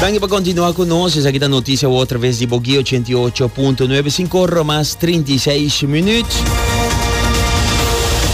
Danki pa kontinua ku nos. Esaki ta Noticia Awo atraves di Boguí 88.9, 5 ora mas 36 minuut.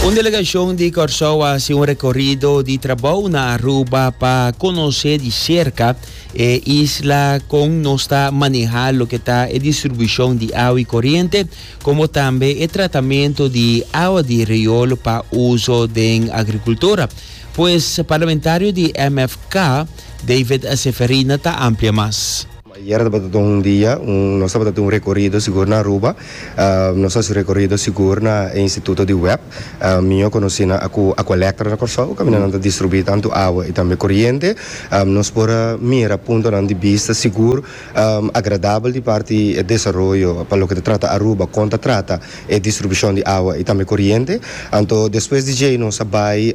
Un delegashon di Kòrsou a hasi un rekorido di trabou na Aruba pa konosé di serka e isla kon nos ta manehá loke ta e distribushon di awa i koriente, komo tambe e tratamentu di awa di riol pa uso den agrikultura. Pues parlamentario di MFK, David Seferina ta amplia mas. Ayer tabata un dia, un nos tabata tin un rekorido sigur na Aruba. Nos a hasi rekorido sigur na e instituto di web. Mihó konosí na ku Aqualectra na Kòrsou, kaminda nan ta distribuí tantu awa i tambe koriente. Nos por a mira puntonan di bista sigur agradabel di parti e desaroyo pa loke ta trata Aruba, kon ta trata e distribushon di awa i tambe koriente. Anto despues di djei nos a bai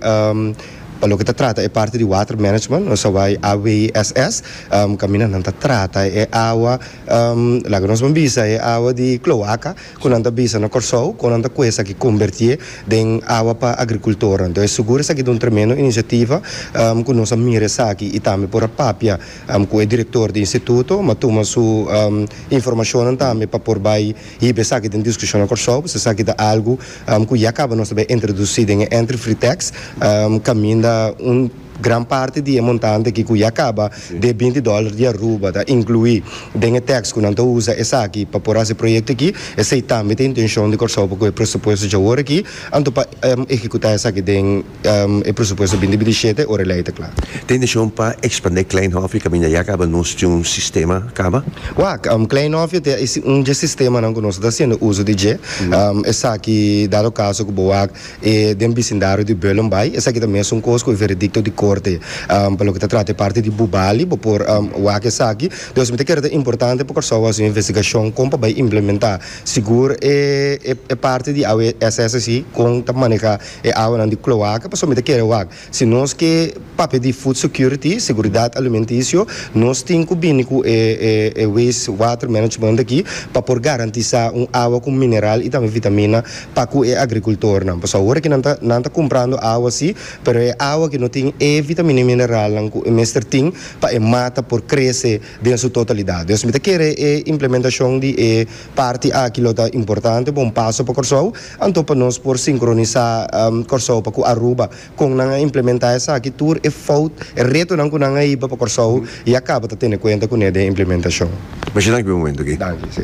pa loke ta trata e parti di water management, nos a bai AWSS, kaminda nan ta trata e awa, laga nos ban bisa e awa di kloaka ku nan ta bisa na Kòrsou, kon nan ta ku esaki kombertié den awa pa agrikultornan. Entonces sigur esaki ta un tremendo inisiativa ku nos a mira esaki i tambe por a papia ku e direktor di instituto, m'a tuma su informashonnan tambe pa por bai Hiba esaki den diskushon na Kòrsou, pasobra esaki ta algu ku ya kaba nos ta bai introdusí den e entry free tax, kaminda un gran parti di e montante aki ku ya kaba de binti dòler di Aruba ta inkluí den e tax ku nan ta usa esaki pa por hasi e proyekto aki. Esei tambe ta e intenshon di Kòrsou pa ku e presupuesto djawor aki, anto pa ehekutá esaki den. E presupuesto binti binti shete ora e lei ta kla. Ta intencion pa expande Klein Hofje caminda ya caba nos tin un sistema caba? Wak, Klein Hofje ta un dje sistemanan cu nos ta haciendo uso di dje. Esaki dado caso cu bo wak e den bisindario di Bullenbaai, esaki ta mesun cos cu e veredicto di corte pa loke ta trata e parti di Bubali, bo por wak esaki. Dus mi ta kere ta importante pa Kòrsou haci un investigacion con pa bay implementa sigur e e parti di awe SSC con ta maneha E awanan di kloaka, pasobra mi ta kere wak, si nos ke papia di food security, seguridat alimentisio, nos tin ku bini ku e e waste water management aki pa por garantisá un awa ku mineral i tambe vitamina pa ku e agrikultornan. Pasobra awor aki nan ta nan ta kumprando awa si, pero e awa aki no tin e vitamina i mineralnan ku e mester tin pa e mata por krese den su totalidat. Dus mi ta kere e implementashon di e parti aki lo ta importante pa un paso pa Kòrsou. Anto pa nos por sinkronisá Kòrsou pa ku Aruba kon nan a implementá esaki tur e fout, e retonan ku nan a hiba pa Kòrsou ya kaba ta tene kuenta kuné den implementashon. Masha danki pa e momento aki. Danki, si.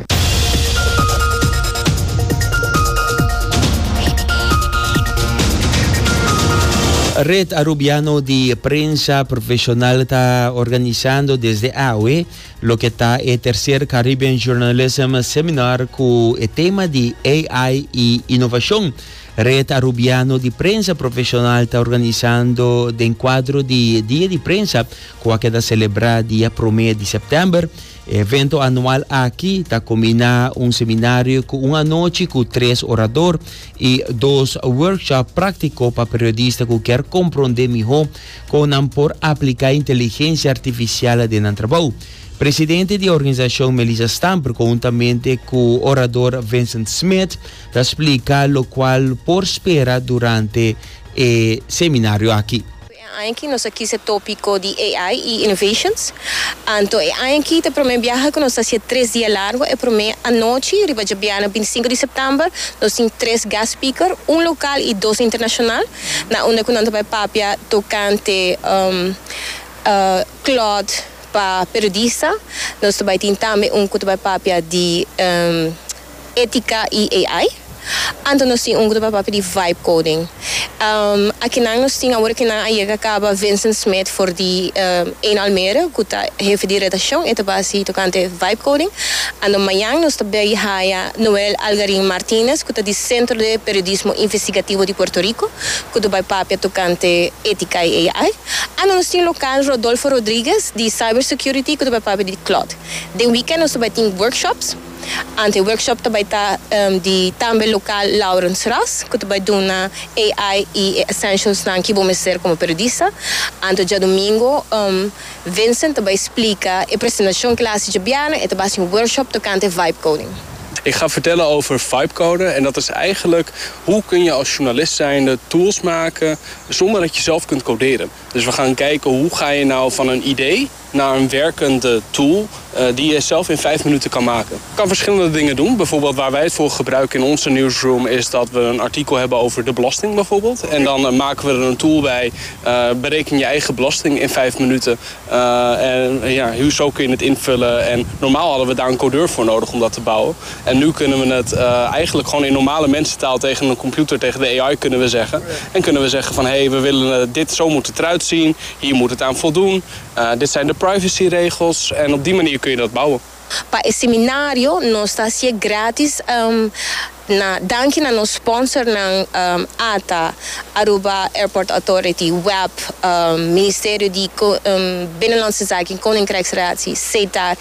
Red Arubiano di Prensa Profesional ta organisando desde awe Loke ta e tercer Caribbean Journalism Seminar cu e tema di AI y Innovacion. Red Arubiano di Prensa Profesional ta organisando den cuadro di Dia di Prensa cu a keda celebra dia prome di september. E evento anual aki ta combina un seminario cu un anochi cu tres orador y dos workshop practico pa periodista cu kier compronde miho Kon nan por apliká inteligensia artifisial den nan trabou? Presidente di e organisashon Melissa Stamper konhuntamente ku orador Vincent Smith ta splika lokual por spera durante e seminario aki. E aña aki nos a kis e tópiko di AI i Innovations. Anto e aña aki ta e promé biaha ku nos ta hasié tres dia largu. E promé anochi, riba djabièrnè bintisinko di sèptèmber, nos tin tres guest speaker, un lokal i dos internashonal. Na unda ku nan ta bai papia tokante Claude pa periodista. Nos ta bai tin tambe un ku ta bai papia di etika i AI. Anto nos tin un ku ta bai papia di vibe coding. Akinan nos tin awor kinan a yega kaba Vincent Smith for di Een Almere ku ta hefe di redakshon. E ta bai hasi tokante vibe coding. Anto mañan nos ta bai haya Noel Algarin Martinez ku ta di Centro de Periodismo Investigativo di Puerto Rico ku ta bai papia tokante etika i AI. Anto nos tin lokal Rodolfo Rodriguez di Cyber Security ku ta bai papia di Cloud. Den weekend nos ta bai tin workshops. Anto e workshop ta bai ta di tambe lokal Laurens Ras ku ta bai duna AI i e essentialsnan ki bo mester komo periodista. Anto djadumingo Vincent ta bai splika e presentashon ku el a hasi djabièrnè, e ta bai hasi un workshop tokante vibe coding. Ik ga vertellen over vibe coden en dat is eigenlijk hoe kun je als journalist zijnde tools maken zonder dat je zelf kunt coderen. Dus we gaan kijken hoe ga je nou van een idee. Naar een werkende tool die je zelf in 5 minuten kan maken. Je kan verschillende dingen doen. Bijvoorbeeld, waar wij het voor gebruiken in onze newsroom is dat we een artikel hebben over de belasting bijvoorbeeld. En dan maken we er een tool bij. Bereken je eigen belasting in 5 minuten. En ja, zo kun je het invullen. En normaal hadden we daar een codeur voor nodig om dat te bouwen. En nu kunnen we het eigenlijk gewoon in normale mensentaal tegen een computer, tegen de AI kunnen we zeggen. En kunnen we zeggen van: hé, hey, we willen dit, zo moet het eruit zien. Hier moet het aan voldoen. Dit zijn de privacyregels. En op die manier kun je dat bouwen. Pa e seminario, nos ta gratis. Na, danki na nos sponsor nan ATA, Aruba Airport Authority, WEB, Ministerio di Binnenlandse Zaken, Koninkrijksrelatie, SETAR.